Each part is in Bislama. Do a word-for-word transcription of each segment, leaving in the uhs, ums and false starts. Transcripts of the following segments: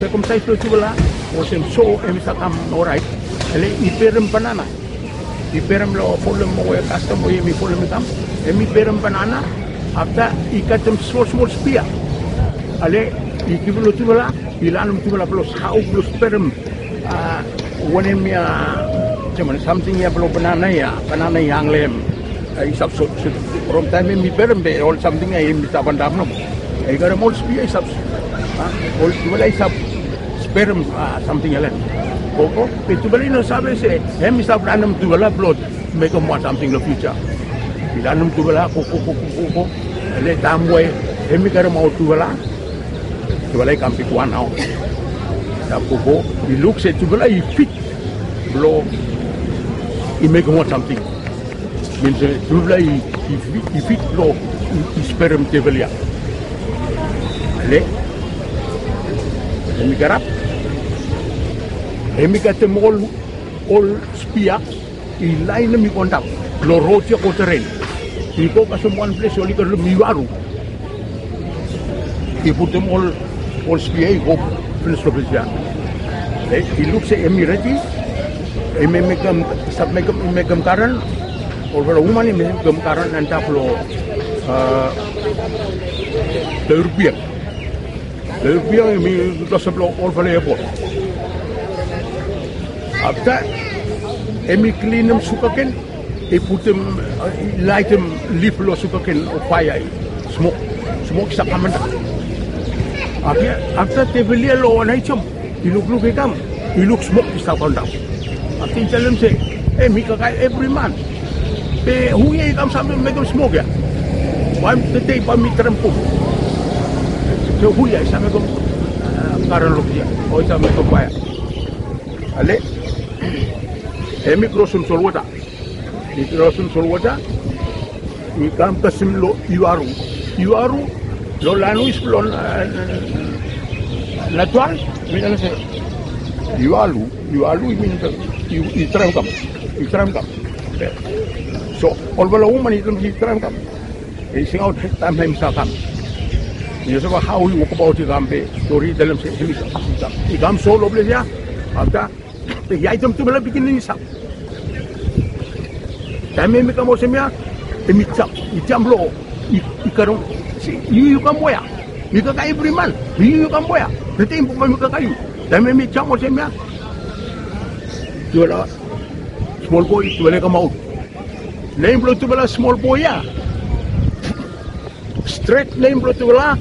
Sekomsaes blong tufala olsem so, em i save kam orait. Ale i berem banana, i berem long folem we kastom we yumi folem i kam. Em i berem banana. Afta i katem smol smol spia. Ale i givim long tufala, i lanem tufala blong hao blong sperem. Wanem ya, samting ya blong banana ya, banana i hang long hem. I save sot sot from taem em i berem be ol samting ya i save antap nomo. I karem ol spia i save, ol tufala i save sperem samting ya long hem. Gogo be tufala i no save se em i save lanem tufala blong mekem wan samting long fiuja. I lanem tufala gogo gogo gogo. Ale taem we em i karemaot tufala, tufala i kam bigwan nao. I save gogo, i luk se tufala i fit blong i mekem wan samting. Min se tufala i fit blong i sperem tevil ya. Ale em i karap, em i katem ol ol spia i laenem i go antap long rod ya go teren. I go kasem wan ples oli karem iwaru. I putum ol ol spia i go pinis long ples ya. I luk se em i redi. Em i mekem save mekem i mekem karen. Olfala woman i mekem karen antap long long irupiang. Long irupiang em i klosap long olfala epot. Afta em i klinim sukaken, i putum i laetem lif long sukaken long faea, i smok smok i save kam antap. Afta tevil ya long wan ai jom i lukluk i kam, i luk smok i stap antap. Afta i talem se em i kakae evri man. Be hu ya i kam save mekem smok ya? Bae tede bae mi traem buk se hu ya i save mekem karen long ya o i save mekem faea. Ale em i krosem solwota. I krosem solwota, i kam kasem long iwaru. Iwaru long lanwis blong natural mi talem se iwalu. Iwalu i min i traem kam, i traem kam. So olfala woman i talem se i traem kam. I singaot taem em i save kam. I no save hao i wokabaot i kam be stori i talem se em i kam. I kam so long ples ya. Afta i aetem tufala pikinini i stap. Taem em i kam olsem ya, em i jam, i jam long i karem se yu yu kam wea? Mi kakae evri man. Yu yu kam wea? Tede bae mi kakae yu. Taem em i jam olsem ya, tufala smol boe tufala i kamaot. Nem blong tufala smol boe ya, stret nem blong tufala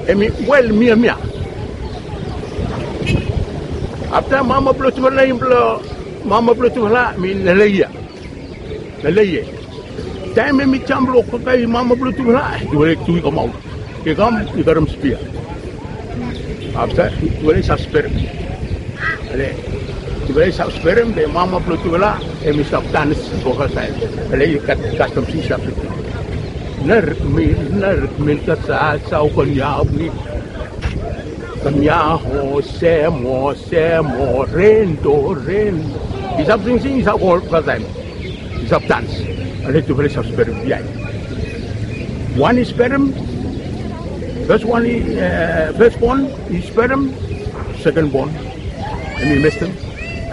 em i Wel Miamia. Afta mama blong tufala, nem blong mama blong tufala em i Leleia. Leleia. Taem em i jam blong kakae mama blong tufala, tufala tu i kamaot. I kam i karem spia. Afta tufala i save sperem. Ale tufala i save sperem be mama blong tufala em i save dans. Gogo taem ale i gat kastom se i save sperem. Ner mi ner mi kasa sau kon yau ni kam yau ho semo semo rendo rendo. I save singsing i save go olgeta taem. I save dans. Ale tufala i save sperem biaen. Wan i sperem. Fes wan i fes bon i sperem. Seken bon em i mestem.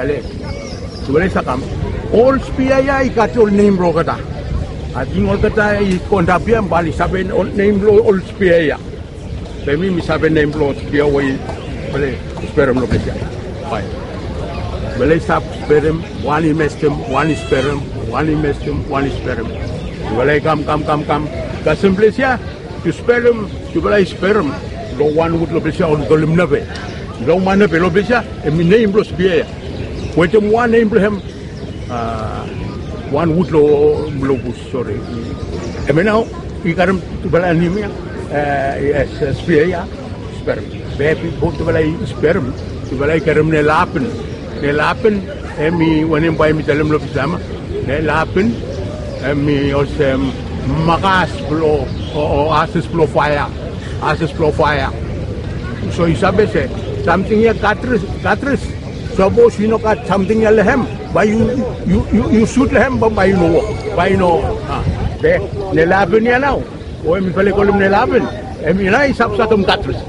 Ale tufala i save kam. Ol spia ya i gat ol nem blong olgeta. Ating olgeta i go antap ya bae oli save nem blong ol spia ya. Be mi mi save nem blong spia we i sperem long ples ya. Bae tufala i save sperem. Wan i mestem, wan i sperem, wan i mestem, wan i sperem. Tufala i kam kam kam kam kasem ples ya. Yu sperem, tufala i sperem long wan wud long ples ya oli kolem nepe. Long man nepe long ples ya em i nem blong spia ya. Wetem wan nem blong hem. Wan wud long bus, sori. Hemia nao i karem tufala nem ya. Spia ya. Sperem. Be bifo tufala i sperem, tufala i karem nelapen. Nelapen em i wanem bae mi talem long Bislama? Nelapen em i olsem makas blong o ases blong faea. Ases blong faea. So yu save se samting ya gatris gatris. Sapos yu no gat samting ya long hem bae yu sut long hem bae yu no wok, bae yu no. Be nelapen ya nao o em i fale i kolem nelapen. Em i nao i save sakem gatris.